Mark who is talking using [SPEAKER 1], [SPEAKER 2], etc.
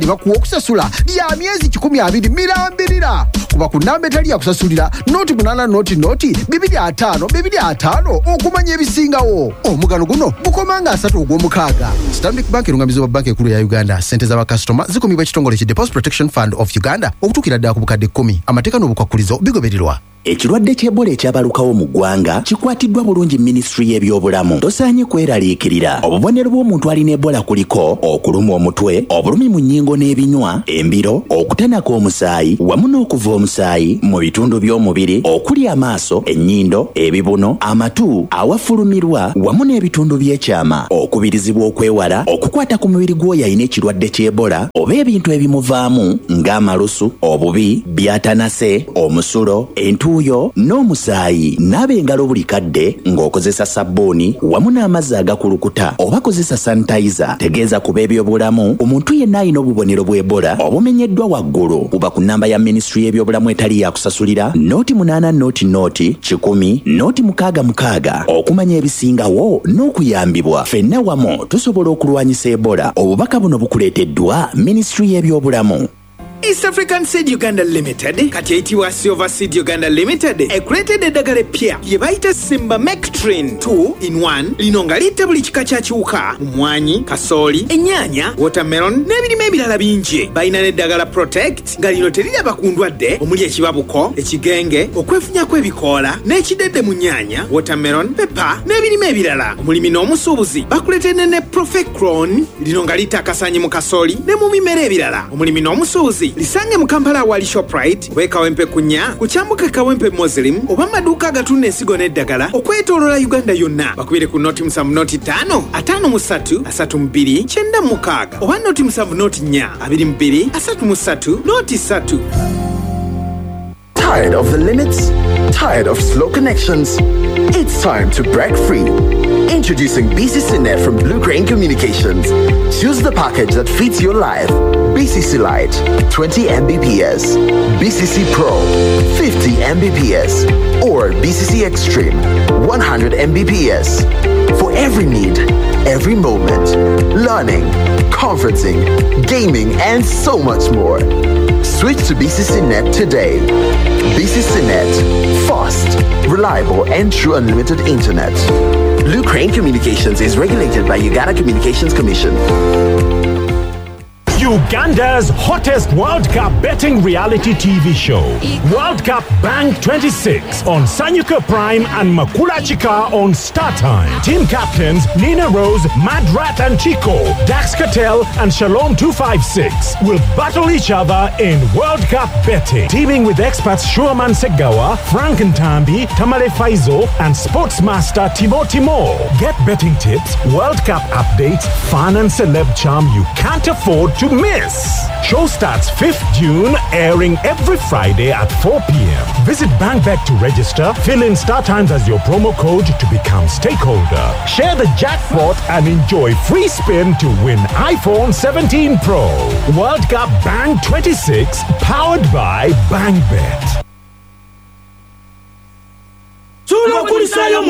[SPEAKER 1] Bakuwa okusasula lya myezi 120 mirambirira. Kuba ku namba etali yakusasulira 080 0 25 25 okumanya ebisingawo. Omugano guno gukomanga 3 ogw'omukaaga. Stanbic Bank erungamizibwa Banka Enkulu ya Uganda. Ssente z'abakasitoma zikumibwa ekitongole ki Deposit Protection Fund of Uganda okutuukira ddala ku bukadde 10. Amateeka n'obukwakulizo bigobererwa.
[SPEAKER 2] Ekirwadde ky'Ebola ekyabalukawo mu ggwanga kikwatiddwa bulungi minisitule y'ebyobulamu. Tosaanye kweraliikirira. Obubonero bw'omuntu alina Ebola kuliko okulumwa omutwe, obulumi mu nnyingo n'ebinywa, embiro, okutanaka omusaayi wamu n'okuva omusaayi mu bitundu by'omubiri okuli amaaso, ennyindo, ebibuno, amatu, awafulumirwa wamu n'ebitundu by'ekyama. Okubirizibwa okwewala okukwata ku mubiri gw'oyo alina ekirwadde ky'Ebola oba ebintu ebimuvaamu ng'amalusu, obubi, by'atanase, omusulo, entuuyo n'omusaayi. Naaba engalo buli kadde ng'okozesa sabbuuni wamu n'amazzi agakulukuta oba kozesa sanitizer. Tegeeza ku b'ebyobulamu ku muntu yenna alina obubonero bw'Ebola obumenyeddwa waggulu. Kuba ku nnamba ya minisitule y'ebyobulamu etali yakusasulira 08 00 100 066 okumanya ebisingawo n'okuyambibwa. Ffenna wamu tusobola okulwanyisa Ebola. Obubaka buno bukuleeteddwa minisitule y'ebyobulamu.
[SPEAKER 3] East African Seed Uganda Limited kati eyitibwa Silver Seed Uganda Limited ekuleetedde eddagala eppya lye bayita Simba Mectrin 2 in 1. Lino nga litta buli kika kya kiwuka mu mmwanyi, kasooli, ennyaanya, watermelon n'ebirime ebirala bingi. Balina n'eddagala Protect nga lino teriraba ku ndwadde omuli ekibabuko, ekigenge, okwefunya kw'ebikoola n'ekidedde mu nnyaanya, watermelon, pepper n'ebirime ebirala. Omulimi n'omusuubuzi bakuleetedde ne Profecron, lino nga litta akasaanyi mu kasooli ne mu bimera ebirala. Omulimi n'omusuubuzi lisange mu Kampala awali Shoprite oba e Kawempe kunya ku kyambuka Kawempe Muslim oba mu maduuka agatunda ensigo n'eddagala okwetooloola Uganda yonna. Bakubire ku 0 7 0 5 53 32 96 oba 0 7 0 4 22 33 03.
[SPEAKER 4] Tired of the limits? Tired of slow connections? It's time to break free. Introducing BCC Net from Blue Crane Communications. Choose the package that fits your life. BCC Lite, 20 Mbps, BCC Pro, 50 Mbps, or BCC Extreme, 100 Mbps. For every need, every moment. Learning, conferencing, gaming, and so much more. Switch to BCC Net today. BCC Net, fast, reliable, and true unlimited internet. Blue Crane Communications is regulated by Uganda Communications Commission.
[SPEAKER 5] Uganda's hottest World Cup betting reality TV show, World Cup Bank 26 on Sanyuka Prime and Makula Chika on Star Time. Team captains Nina Rose, Madrat and Chico, Dax Cattell and Shalom 256 will battle each other in World Cup betting. Teaming with experts Shuaman Segawa, Frank Ntambi, Tamale Faizo, and sportsmaster Timo Timo. Get betting tips, World Cup updates, fun and celeb charm you can't afford to miss. Show starts 5th June, airing every Friday at 4 p.m. Visit BankBet to register, fill in Star Times as your promo code to become stakeholder. Share the jackpot and enjoy free spin to win iPhone 17 Pro. World Cup Bank 26, powered by BankBet.
[SPEAKER 6] Tubakulisaayo.